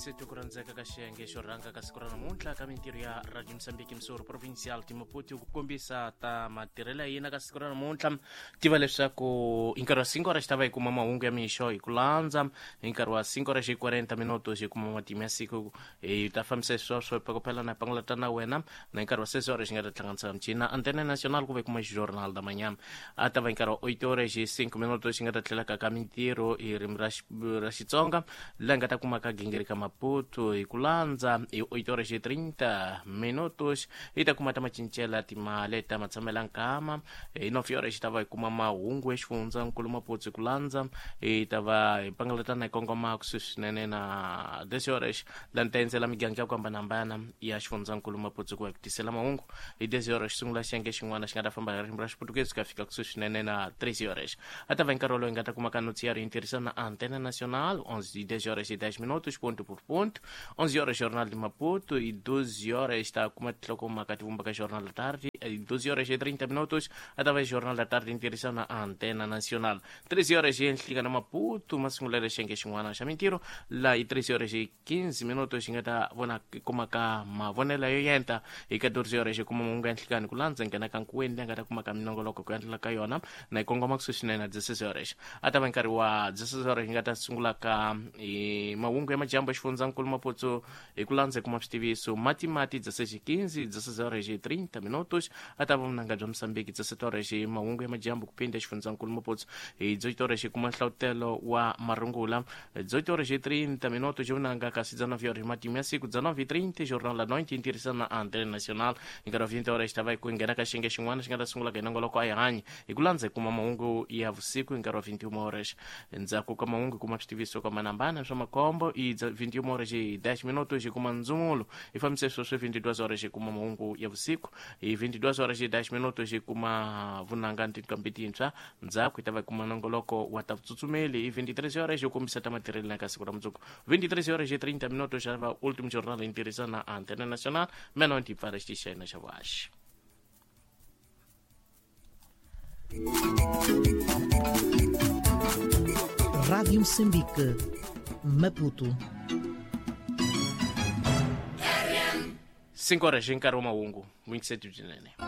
Situ ku rhandzeka ka xiyenge xo rhanga ka siku ra namuntlha ka mintirho ya Radio Mozambique Missouri Provincial Timaputi ku kombisa ta matirhelo ya yena ka siku ra namuntlha. Tiva leswaku hi nkarhi wa 5 horas xi ta va hi kuma mahungu ya mixo hi ku landza, hi nkarhi wa 5 horas hi 40 minutos hi kuma matimu ya siku, hi ta fambisa sweswo hi pakopela na pangulata na wena, na hi nkarhi wa 6 horas xi nga ta hlanganisa michina Antena Nacional ku va hi kuma Jornal da Manhã. A ta va hi nkarhi wa 8 horas hi 5 minutos xi nga ta tlhela ka mintirho hi ririmi ra Xitsonga, laha nga ta kuma ka gingiri ka Maputo hi ku landza. Hi 8 horas hi 30 minutos hi ta kuma ta macincela timali ta matshamela nkama. Hi 9 horas xi ta va hi kuma mahungu ya xifundza nkulu Maputo hi ku landza, hi ta va hi pangalatana hi kongoma kusuhi swinene na 10 horas, laha ni ta endzela miganga ya ku hambanahambana ya xifundza nkulu Maputo ku va hi ku tisela mahungu. Hi 10 horas xi sungula xiyenge xin'wana xi nga ta famba hi ririmi ra Xiputukezi ku ya fika kusuhi swinene na 13 horas. A ta va hi nkarhi wolowo hi nga ta kuma ka noticiário hi tirhisana na Antena Nacional 11 10 horas e 10 minutos ponto por ponto, 11 horas Jornal de Maputo, e 12 horas ta kuma tinhlokomhaka ti vumbaka Jornal da Tarde, e 12 horas e 30 minutos a ta va Jornal da Tarde hi tirhisana na Antena Nacional. 13 horas hi enhlika na Maputo masungulo ya xiyenge xin'wana xa mintirho, laha hi 13 horas hi 15 minutos xi nga ta vona kuma ka mavonelo yo yenta. Hi 14 horas xi kuma mahungu ya nhlikani ku landza nghena ka nkuweni, leyi nga ta kuma ka minongoloko ku endlela ka yona na yi kongoma kusuhi swinene na 16 horas. A ta va nkarhi wa 16 horas hi nga ta sungula ka hi mahungu ya majambu ya xifundzankulu Maputo hi ku landza hi kuma switiviso mati 16 15 16 horas hi 30 minutos. A ta va vunanga bya Mozambique 17 horas hi mahungu ya majambu ku phinda xifundzankulu Maputo. Hi 18 horas hi kuma nhlavutelo wa marungula 18 horas e 30 minutos vunanga, kasi 19 horas matimu ya siku, 19:30 Jornal da Noite tirhisana na Antena Nacional. Hi nkarhi wa 20 horas ta va hi ku nghena ka xiyenge xin'wana xi nga ta sungula ka hi nongoloko a hi hanyi hi ku landza hi kuma mahungu ya vusiku hi nkarhi wa 21 horas. Endzhaku ka mahungu hi kuma switiviso ka manambana swa makhombo. Hi 21 horas hi 10 minutos hi kuma ndzumulo hi fambise sweswo. 22 horas hi kuma mahungu ya vusiku. Hi 22 horas hi 10 minutos hi kuma vunanga ni tinqambi tintshwa, ndzhaku hi ta va hi kuma nongoloko wa ta vutsutsumeli. Hi 23 horas hi kombisa ta matirhelo na ka siku ra mundzuku. 23 horas hi 30 minutos xa va Ultimo Jornal hi tirhisa na Antena Nacional mena ti pfala xitichi xa hina xa vuhaxi. Rádio Moçambique, Maputo. 5 horas hi nkarhi wa mahungu, n'wingiseti byinene.